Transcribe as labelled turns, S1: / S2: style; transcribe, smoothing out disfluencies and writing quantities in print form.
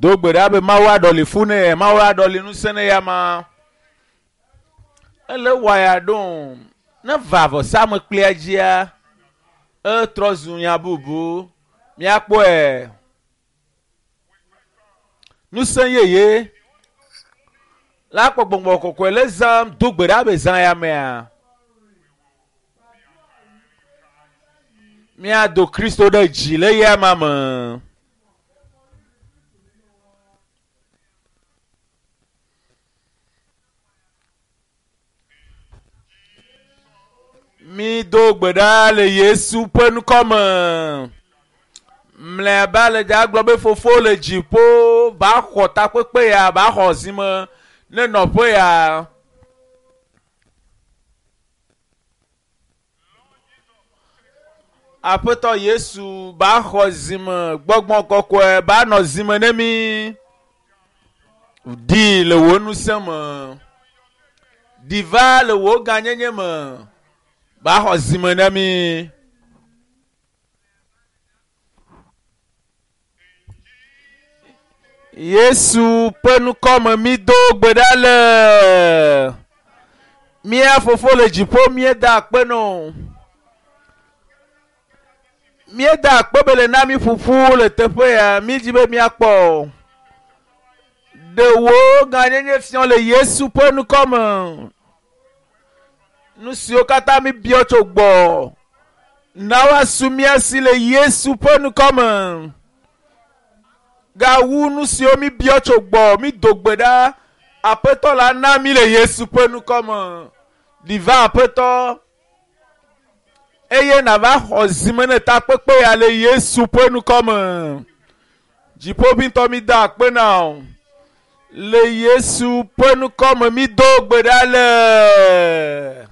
S1: Do gbe ɖa be Mawu aɖɔli fu ne ye, Mawu aɖɔli ŋusẽ ne ya ma. Ele wɔya ɖo ne va vɔsamekplia dzia, etrɔ zu nya bubu. Míakpɔe. Ŋusẽ yeye la kpɔ gbɔgbɔ kɔkɔe le zãm do gbe ɖa be zã ya mea. Míado Kristo ɖe dzi le ya ma me. Mi do gbe ɖa le Yesu ƒe ŋkɔ me. Mlɔeba le dza gblɔ be fofo le dziƒo va xɔ takpekpe ya va xɔ zime ne nɔƒe ya. Aƒetɔ Yesu ba xɔ zime gbɔgbɔ kɔkɔe ba nɔ zime ne mi. Ɖi le wò ŋusẽ me. Ɖi va le wò gãnyenye me. Ba xɔ zime ne mi. Yesu ƒe ŋkɔ me mi do gbe ɖa le. Mía fofo le dziƒo míeda akpe nɔ. Míeda akpe be le na mi ƒuƒu le teƒe ya mi dzi be míakpɔ. Ɖe wò gãnyenye fiɔ le Yesu ƒe ŋkɔ me. Nu siwo katã mi biɔ tso gbɔ. Na woasu mía si le Yesu ƒe ŋkɔ me. Gawu nu siwo mi biɔ tso gbɔ mi do gbe ɖa. Aƒetɔ la na mi le Yesu ƒe ŋkɔ me. Ɖi va aƒetɔ. Eye nava xɔ zime ne takpekpe ya le Yesu ƒe ŋkɔ me. Dziƒoʋĩtɔ mi da akpe na wò. Le Yesu ƒe ŋkɔ me mi do gbe ɖa le.